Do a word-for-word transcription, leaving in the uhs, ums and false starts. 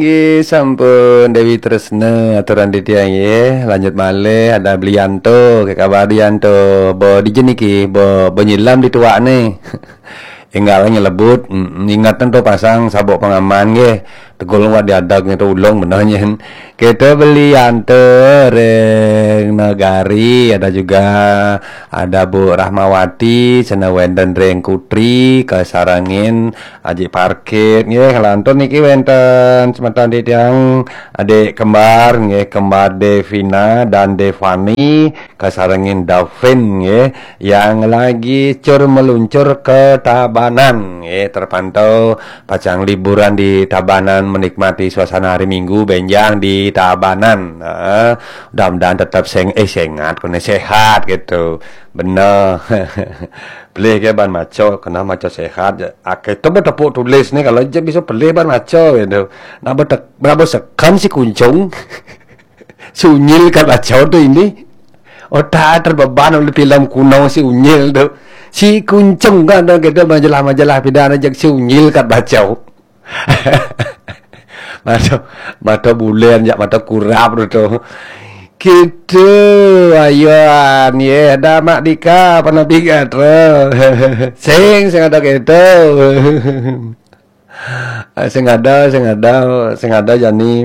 Nggih, sampun Dewi Tresna aturan titiang nggih. Lanjut malih ada Blianto, ke kabar Blianto? Bo dija niki, bo, bo nyilam di tuak ne. Enggal nyelebut, mm, ingetan to pasang sabuk pengaman nggih. Tegul wak diadag nggih to ulung bener nyen. Kita Blianto ring Negari, ada juga ada Bu Rahmawati, sena wenten ring Kutri, kasarengin Aji Parkit nggih, ngelantur niki wenten semeton titiang adik kembar nggih, kembar Devina dan Devani, kasarengin Davin nggih, yang lagi cur meluncur ke Tabanan nggih, terpantau pacang liburan di Tabanan, menikmati suasana hari Minggu benjang di Tabanan. Nah, mudah-mudahan tetap seng eh sengat kone sehat gitu. Bener. Pelih ke ban maca, kena maca sehat. Akeh tu betepuk tulis ni kalau je bisa pelih ban maca gitu. Nak betek berapa sekan si kuncung. Si unyil kat baca tu ini. Otak terbeban oleh filem kuno si unyil tu. Si kuncung kan tu kita majalah-majalah pidana jak si unyil kat baca. Mata, mata bulan jak mata kurap tu. Kita ayuan ye dah Mak Dika pernah pigat tu. Sing sing ada kita. Sing ada, sing ada, sing ada jani.